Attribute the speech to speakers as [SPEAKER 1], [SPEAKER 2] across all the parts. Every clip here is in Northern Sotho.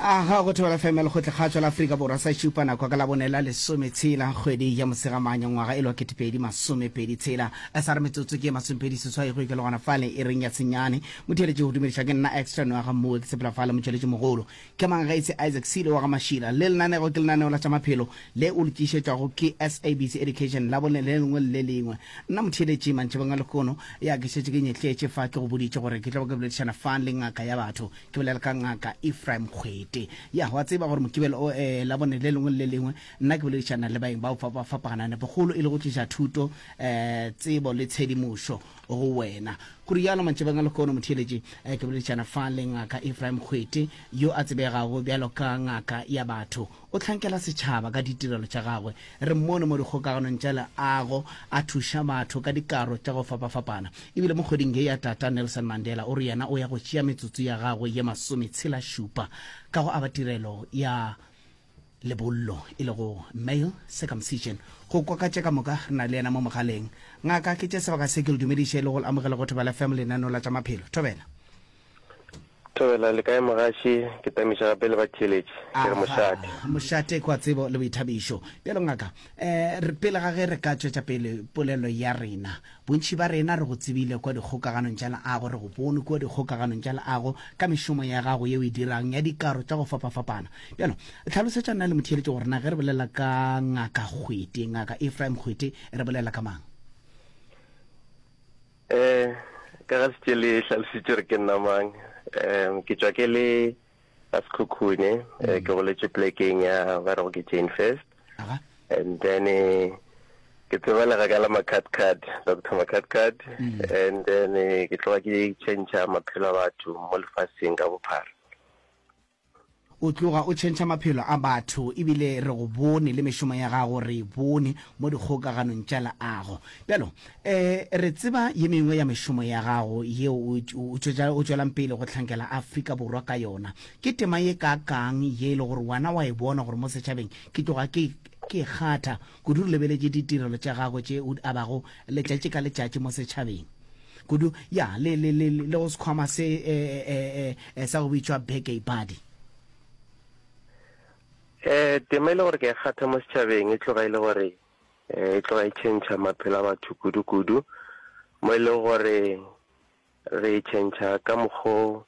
[SPEAKER 1] Aga go Thobela FM ya Lekgotlakgatšo la Afrika Borwa sa šupa nako ka labone la lesometshela kgwedi ya Mosegamanya ngwaga e le wa ketepedi masomepedi tshela sa re metsotso ke masomepedi seswai go ikela gona fale e reng ya senyane motheeletši go dumediša ke nna extra noa ga mmoe ke sepela fale motšweletši mogolo ke mang ga etse Isaac Silo wa ga Mašila le lenanego ke lenaneo la tša maphelo le o le tlišetšwago ke SABC Education labone le lengwe le le lengwe nna motheeletši mantšibong a lehono ya ke šetše ke nyetletše fa ke go boditše gore ke tlo ba ke boledišana fa le ngaka ya batho Ke bolela ka Ngaka Ephraim Kgwete. Ya, wa tseba gore Mokibelo o, eh, Labone le lengwe le le lengwe, nna ke boledišana le baeng bao fapa-fapaganang, nepokgolo e le go tliša thuto, eh, tsebo le tshedimošo go wena. Go rialo mantšibeng a lehono, motheeletši, eh, ke boledišana fa le Ngaka Ephraim Kgwete, yo a tsebegago bjalo ka ngaka ya batho. O hlankela setšhaba ka ditirelo tša gagwe. Re mmone mo dikgokaganong tša leago a thuša batho ka dikaro tša go fapafapana. Ebile mo kgweding ye ya Tata Nelson Mandela o re yena o ya go tšea metsotso ya gagwe ye masometshela-šupa ka go aba tirelo ya lebollo e lego male circumcision. Go kwa ka tše ka moka re na le yena mo mogaleng. Ngaka, ke tše sebaka se ke le dumediše le go le amogela go Thobela FM lenaneo la tša maphelo. Thobela.
[SPEAKER 2] Thobela, le kae mogaši? Ke tamiša gape le batheeletši. Ke re mošate.
[SPEAKER 1] Mošate kwa tsebo le boithabišo. Bjalo ngaka, um re pele ga ge re ka tšwetša pele polelo ya rena, bontši ba rena re go tsebile kwa dikgokaganong tša leago, re go bone kua dikgokaganong tša leago ka mešomo ya gago ye o e dirang ya dikaro tša go fapafapana. Bjalo, hlalosetša nna le motheeletši gore na ge re bolela ka Ngaka Kgwete, Ngaka Ephraim Kgwete, re bolela ka mang?
[SPEAKER 2] Eh, ka ga šetše le hlalositše gore ke nna mang. Um, ke tšwa ke le ga Sekhukhune, eh, ke goletše plekeng ya ba rego ke Jane First.
[SPEAKER 1] Aga.
[SPEAKER 2] And then eh, ke tsebalega ka la Makhatkhat, Doctor Makhatkhat. And then eh, ke tloga ke tšhentšha maphelo a batho mo lefaseng ka bophara.
[SPEAKER 1] O tloga o tšhentšha maphelo a batho ebile re go bone le mešomo ya gago re e bone mo dikgokaganong tša leago. Bjalo, eh, re tseba ye mengwe ya mešomo ya gago yeo o, o, o tšwelang pele go hlankela Afrika Borwa ka yona. Ke tema ye kaakang ye e le gore wena wa e bona gore mo setšhabeng ke tloga ke, ke e kgatha kudu re lebeletše ditirelo tša gago tše o di abago letšatši ka letšatši mo setšhabeng? Kudu, ya, le, le, le, le go sekhwama se, e, e, e, e, sa go bitšwa Beke Ibadi.
[SPEAKER 2] Eh, tema e le gore ke e kgatha mo setšhabeng e tloga e le gore eh, e tloga e tšhentšha maphelo a batho kudu-kudu, mo e leng gore re tšhentšha ka mokgo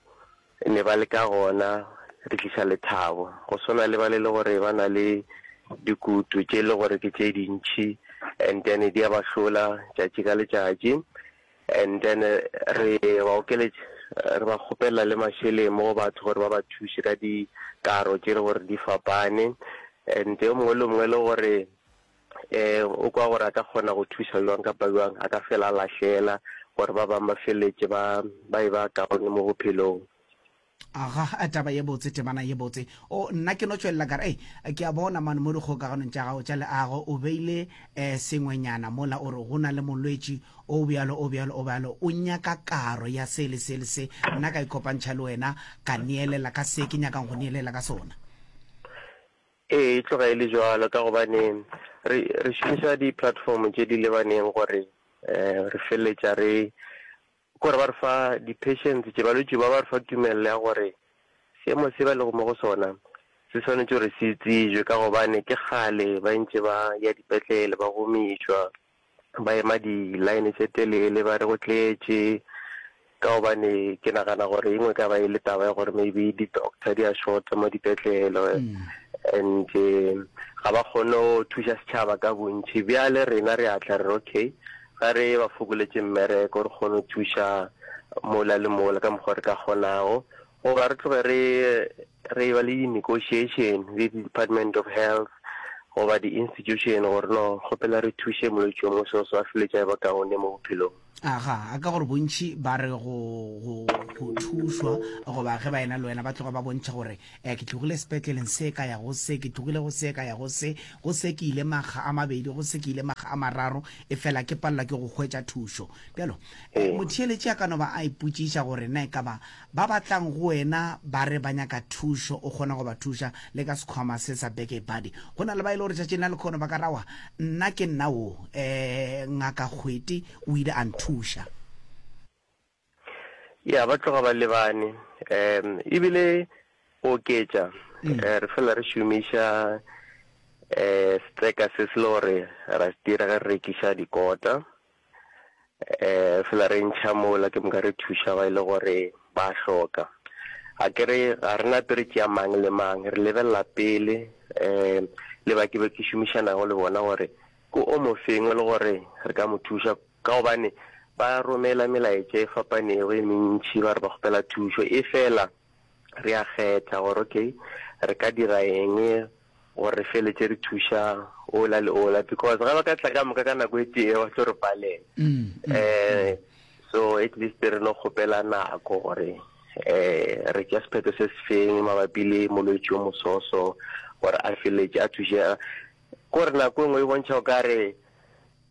[SPEAKER 2] ne ba le ka gona, re tliša lethabo. Go swana le ba le le gore ba na le dikutu tše e le gore ke tše dintšhi and then di a ba hlola tšatši ka letšatši and then re ba okeletša, re ba kgopelela le mašeleng mo go batho gore ba ba thuše ka dikaro tše e le gore di fapane and yo mongwe le mongwe e le gore um o kwa gore a ka kgona go thuša bjang kapa bjang, a ka fela a lahlela gore ba bangwe ba feleletše ba ba e ba kaone mo bophelong.
[SPEAKER 1] Aga, taba ye botse, temana ye botse. O, nna ke no tšwelela ka re, Ei, ke a bona mane mo dikgokaganong tša gago tša leago, o beile um sengwenyana mola o re go na le molwetši o bjalo, o bjalo, o bjalo, o nyaka karo ya se le se le se. Nna ka ikopantšha le wena, ka neelela ka se ke nyakang go neelela ka sona.
[SPEAKER 2] Ee, e tloga e le bjalo ka gobane re re šomiša di-platform tše di lebaneng gore um re feleletša re kore ba re fa di-patients tše balwetši ba ba re fa tumelelo ya gore seemo se ba lego mo go sona se swanetše gore se tsebje ka gobane ke kgale ba ntše ba ya dipetlele ba gomišwa. ba ema di-line tše telele ba re go tletše, ka gobane ke nagana gore e nngwe ka ba e le taba ya gore maybe di-doctor di a shorta mo dipetlele and ga ba kgone go thuša setšhaba ka bontši. Bjale rena re a tla re re okay, ga re ba fokoletše mmereko re kgone go thuša mola le mola ka mokgwa re ka kgonago, goba re tloge re re ba le di-negotiation le di-department of health goba di-institution gore no kgopela re thuše molwetši yo mongwe seo se ba feletša e ba kaone mo bophelong.
[SPEAKER 1] Aga, a ka gore bontši ba re go, go, go thušwa goba ge ba ena le wena ba tloga ba bontšha gore eh, ke tlogile sepetleleng se ka ya go se, ke tlogile go se ka ya go se, go se ke ile makga a mabedi, go se ke ile makga a mararo, efela ke palelwa ke go hwetša thušo. Bjalo, eh, motheeletši a ka no ba a ipotšiša gore na e ka ba Ba ba tlang go wena ba re ba nyaka thušo, o kgona go ba thuša le ka sekhwama se sa Beke Buddy. Go na le ba e le gore tšatšing la lekhono ba ka ra wa, nna ke nna wo, um Ngaka Kgwete o ile a nthuša.
[SPEAKER 2] Ya, ba tloga ba lebane. Um ebile. Go oketša, re fela re šomiša setseka se se le gore ra se dira ge re rekiša dikota. Re fela re ntšha mola ke moka re thuša ba e le gore ba hloka. A ke re ga re nape re tšea mang le mang, re lebelela pele le ba ke be ke šomišanago le bona gore ke o mofeng e le gore re ka mo thuša ka gobane ba romela melaetša e fapanego e mentši ba re ba kgopela thušo, efela re a kgetha gore okay re ka dira eng gore re feletše re thuša ola le ola because ga ba ka tla ka moka ka nako e tee ba tlo re palela um so at least re no kgopela nako gore um re tšea sephetho se se feng mabapi le molwetši o mososo gore a feletše a thušega kore nako e nngwe e bontšha o ka re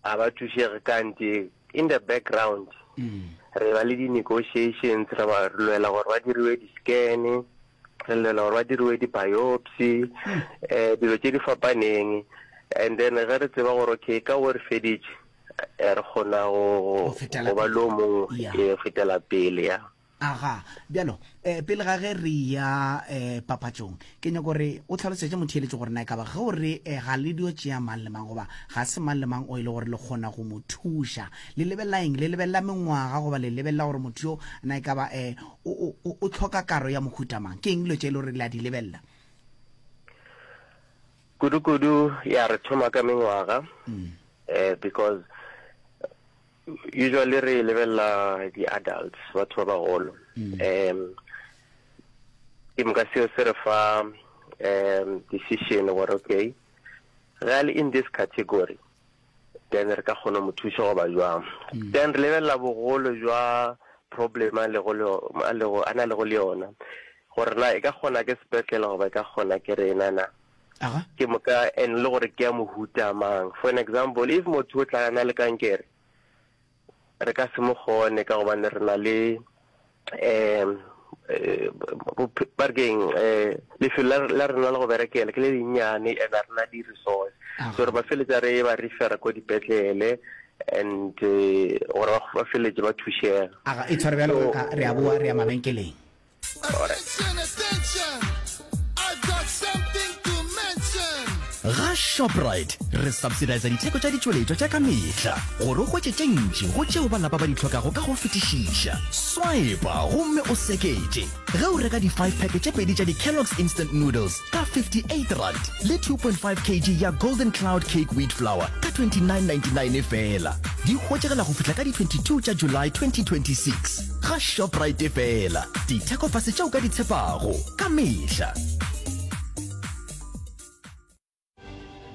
[SPEAKER 2] Ga ba thušege kante in the background re ba le di-negotiations, re ba re lwela gore ba diriwe di-scan, re lwela gore ba diriwe di-biopsy, um dilo tše di fapaneng. And then ge re tseba gore okay ka wo re feditše, eh, re kgona go
[SPEAKER 1] Go fetela
[SPEAKER 2] go ba le
[SPEAKER 1] pele.
[SPEAKER 2] o mongwe,
[SPEAKER 1] Yeah.
[SPEAKER 2] ee, go fetela pele ya.
[SPEAKER 1] Aga, bjalo, eh, pele ga ge re ya eh, papatšong, ke nyako gore o tlhalosetše motheeletši gore na e ka ba ge o re eh, ga le dio tšea mang le mang goba ga se mang le mang o e le gore le kgona go mo thuša. Le lebelela eng? Le lebelela mengwaga goba le lebelela gore motho yo na e ka ba eh, o, o, o, o hloka karo ya mohuta mang? Ke eng dilo tše e le gore le a di lebelela?
[SPEAKER 2] Kudu-kudu, ya re thoma ka mengwaga, eh, because Usually re lebelela di-adults, batho ba bagolo. Um ke moka seo se re fa um decision gore okay, ge a le in this category then re ka kgona mo thuša goba jwang. Then re lebelela bogolo jwa problem a lego le a lego a na lego le yona gore na e ka kgona ke sepetlele goba e ka kgona ke rena na.
[SPEAKER 1] Aga.
[SPEAKER 2] Ke moka and le gore ke ya mohuta mang. For an example, if motho o tla na le kankere, re ka se mo kgone ka gobane re na le um ba re keng um lefelo la la rena la go berekela ke le lennyane and ga re na di-resource. So re ba feletša re ba refera ko dipetlele and gore ba ba feletše ba thušega.
[SPEAKER 1] Aga, e tshware bjalo
[SPEAKER 2] So
[SPEAKER 1] ngaka, re a boa re ya mabenkeleng.
[SPEAKER 3] Attention, attention, I've got something to mention.
[SPEAKER 4] Ga Shoprite re subsidisa ditheko tša ditšweletšwa tša ka mehla gore o hwetše tše ntši go tšeo ba lapa ba di hlokago ka go fetišiša. Swipa gomme o seketše ge o reka di-five pack tše pedi tša di-Kellogg's Instant Noodles ka R58 le 2.5 kg ya Golden Cloud Cake Wheat Flour ka R29.99 feela. Di hwetšagala go fihla ka di-22 tša July 2026. Ga Shoprite feela, dithekofase tše o ka di tshepago ka mehla.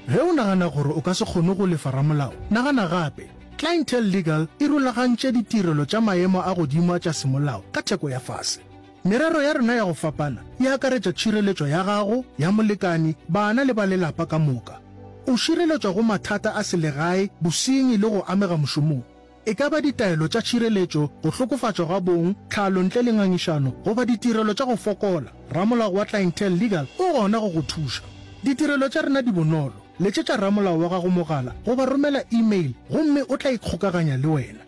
[SPEAKER 5] Ge o nagana gore o ka se kgone go lefa ramolao, nagana gape. Clientele Legal e rulagantše ditirelo tša maemo a godimo a tša semolao ka theko ya fase. Merero ya rena ya go fapana e akaretša tšhireletšo ya gago, ya molekani, bana le ba lelapa ka moka. O šireletšwa go mathata a selegae, bosenyi le go amega mošomong. E ka ba ditaelo tša tšhireletšo, go hlokofatšwa ga bong, tlhalo ntle le ngangišano, goba ditirelo tša go fokola, ramolao wa Clientele Legal o gona go go thuša. Ditirelo tša rena di bonolo, letšetša ramolao wa gago mogala goba romela e-mail gomme o tla ikgokaganya le wena.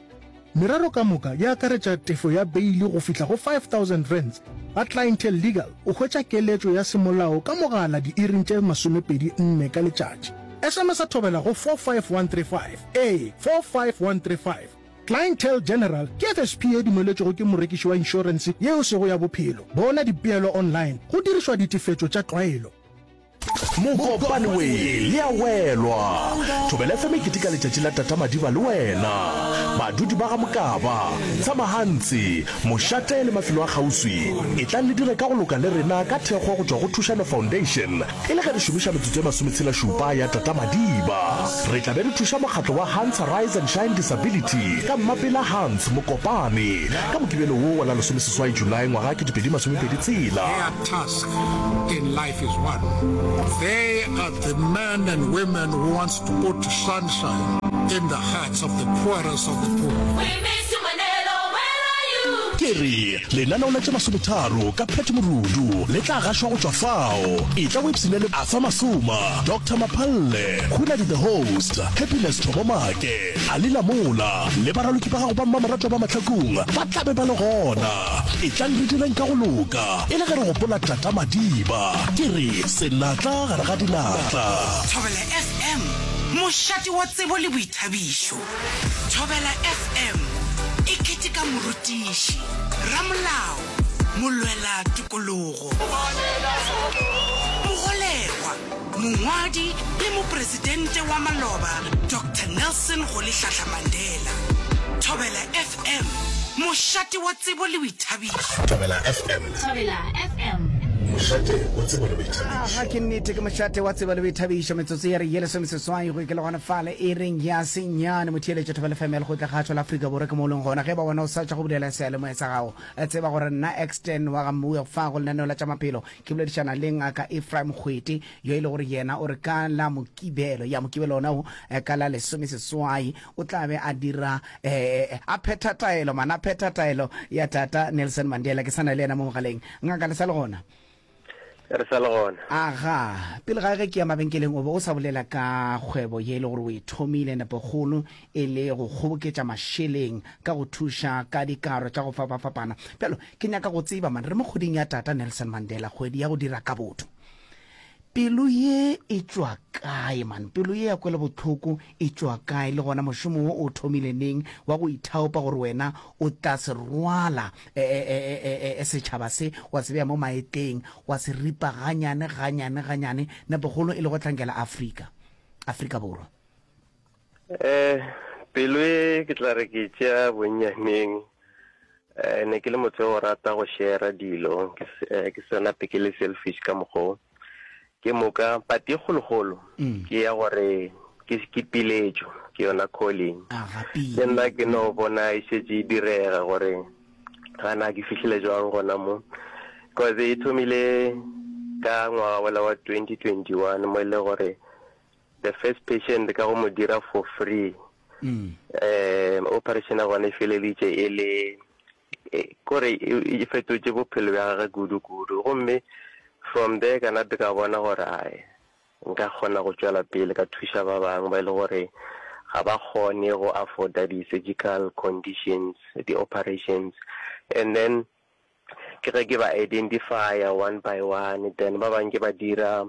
[SPEAKER 5] Merero ka moka e akaretša tefo ya beili go fihla go R5000. Ga Clientele Legal o hwetša keletšo ya semolao ka mogala diiring tše 24 ka letšatši. SMS-a thobela go 45135. Ee, 45135. Clientele General ke FSP ye dumeletšwego ke morekiši wa inšorense ye e sego ya bophelo. Bona dipeelo online go dirišwa ditefetšo tša tlwaelo.
[SPEAKER 6] Mokopane we le a welwa. Thobela FM e keteka letšatši la Tata Madiba le wena. Badudi ba ga Mokaba, Tshamahantsi, Mošate le mafelo a kgauswi, etlang le dire ka go loka le rena ka thekgo go tšwa go Thušano Foundation e le ge re šomiša metsotso e masometshela-šupa ya Tata Madiba. Re tla be re thuša mokgatlo wa Hans Rise and Shine Disability ka Mmapela Hans Mokopane ka Mokibelo wo wa la lesomeseswai Julae ngwaga 2026.
[SPEAKER 3] Their task in life is one. They are the men and women who wants to put sunshine in the hearts of the poorest of the poor.
[SPEAKER 7] We miss you Manelo, where are you?
[SPEAKER 6] Ke. Ke re, lenaneo la tše masometharo ka Pat Morudu le tla gašwa go tšwa fao. Etla o ipshine le Arthur Masoma, Doctor Maphalle, Hunadi the Host, Happiness Thobo Make, Ali Lamola le baraloki ba gago ba mmamoratwa ba Mahlakung ba tla be ba le gona. Etlang re direng ka go loka e le ge re gopola Tata Madiba. Ke re, senatla gare ga dinatla.
[SPEAKER 7] Thobela FM, mošate wa tsebo le boithabišo. Thobela FM e keteka morutiši, ramolao, molwela tokologo, mogolegwa, mongwadi le mopresidente wa maloba Doctor Nelson Rolihlahla Mandela. Thobela FM, mošate wa tsebo le boithabišo.
[SPEAKER 6] Thobela FM.
[SPEAKER 8] Thobela FM.
[SPEAKER 6] Mošate wa tsebo le boithabišo.
[SPEAKER 1] Aga ke nnete ke mošate wa tsebo le boithabišo metsotso ya re ye lesomeseswai go ikela gona fale e reng ya senyane motheeletšo Thobela FM ya lekgotla kgatšo la Afrika Borwa ke mo o leng gona ge ba wena o sa tšwa go bulela seyalemoya sa gago tseba gore nna Exten wa ga Mmuwe fa go lenaneo la tša maphelo ke boledišana le ngaka Ephraim Kgwete yo e le gore yena o re ka la Mokibelo ya Mokibelo ona o ka la lesomeseswai o tla be a dira eh, a phetha taelo man a phetha taelo ya tata Nelson Mandela. Ke sa na le yena mo mogaleng. Ngaka le sa le gona?
[SPEAKER 2] Re sa le gona.
[SPEAKER 1] Aga, pele ga ge ke ya mabenkeleng o be o sa bolela ka kgwebo ye e le gore o e thomile nepokgolo e le go kgoboketša mašeleng ka go thuša ka dikaro tša go fapafapana. Bjalo ke nyaka go tseba man, re mo kgweding ya tata Nelson Mandela, kgwedi ya go dira ka botho. Pelo ye e tšwa kae man? Pelo ye ya kwelobohloko e tšwa kae? Le gona mošomo wo o thomile neng wa go ithaopa gore wena o tla se rwala e, e, e, e, e, e, setšhaba se, wa se bea mo maetleng, wa se ripa ganyane, ganyane, ganyane, nepokgolo e le go hlankela Afrika, Afrika Borwa?
[SPEAKER 2] Eh, pelo e ke tla re ke tšea bonnyaneng. Eh, ne ke le motho yo rata go share dilo, ke eh, ke se nape ke le selfish ka mokgwa o. Ke moka pati e kgolokgolo mm. ke ya gore ke ke piletšo, ke yona calling. Le nna ke no bona e šetše e direga gore gana ke fihlile jwang gona mo. Cause e thomile ka ngwaga wola wa 2021 mo e le gore the first patient ka go mo dira for free um operation ya gona e feleleditše e le e, kore e, e fetotše bophelo bja gage kudu-kudu gomme from there ka nape ka bona gore ae nka kgona go tšwela pele ka thuša ba bangwe ba e le gore ga ba kgone go afforda di-surgical conditions di-operations and then Ke ge ke ba identifya one by one then ba bang ke ba dira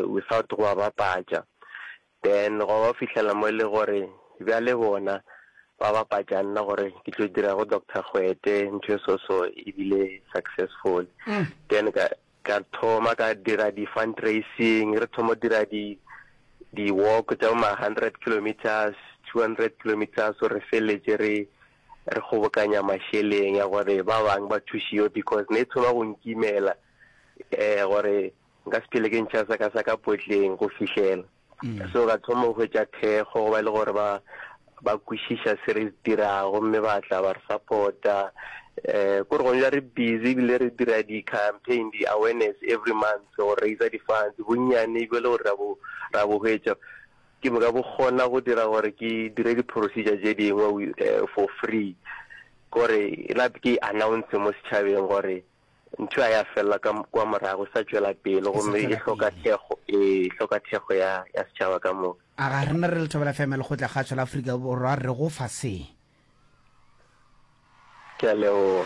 [SPEAKER 2] without go ba bapatša. Then gwa ba fihlela mo e le gore bjale bona ba bapatša nna gore ke tlo dira go Doctor Kgwete ntho e so so e bile successful. Then ka ka thoma ka dira di fundraising, re thoma go dira di di walk tša bo ma 100 kilometers, 200 kilometers gore re feleletše re re kgobokanya mašeleng ya gore ba bang ba thušiwe because ne e thoma go nkimela um gore nka se phele ke ntšha sa ka sa ka potleng go fihlela. So ka thoma go hwetša thekgo go ba e le gore ba ba kwešiša se re se dirago gomme ba tla ba re support-a. Um kore gone jwale re busy ebile re dira di-campaign, di-awareness every month go raiser di-funds, bonnyane bjo e le gore ra bo ra bo hwetša Ke moka bo kgona go dira gore ke dire di-procedure tše dingwe for free. Kore nape ke announce mo setšhabeng gore ntho a ya felela ka kwa morago, e sa tšwela pele gomme e hloka thekgo, ee, e hloka thekgo ya ya setšhaba ka moka.
[SPEAKER 1] A ga rena re le Thobela FM ya Lekgotlakgašo la Afrika Borwa re go fa se?
[SPEAKER 2] Ke a leboga.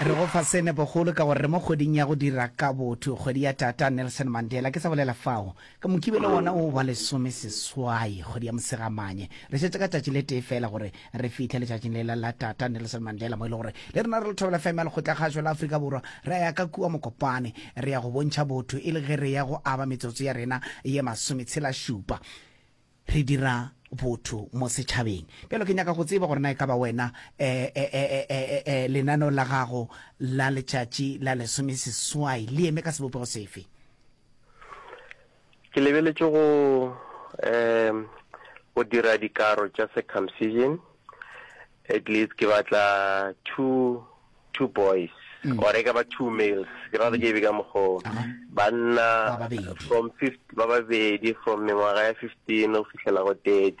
[SPEAKER 1] Re go fa se nepokgolo ka gore re mo kgweding ya go dira ka botho, kgwedi ya Tata Nelson Mandela. Ke sa bolela fao, ka Mokibelo wona o wa lesomeseswai, kgwedi ya Mosegamanye. Re šetše ka tšatši le tee feela gore re fihle letšatšing lela la Tata Nelson Mandela, mo e le gore le rena re le Thobela FM ya Lekgotlakgašo la Afrika Borwa re ya ka kua Mokopane, re ya go bontšha botho e le ge re ya go aba metsotso ya rena ye masometshelašupa. Re dira botho mo setšhabeng. Bjalo ke nyaka go tseba gore na e ka ba wena, e, e, e, e, e, e, lenaneo la gago la letšatši la lesomeseswai le eme ka sebopego sefe?
[SPEAKER 2] Ke lebeletše go, um, go dira dikaro tša circumcision. At least ke batla two two boys mm. or e ka ba two males ke rata ke be ka mokgoo banna from ba babedi from mengwaga ya 15 go fihlela go 30.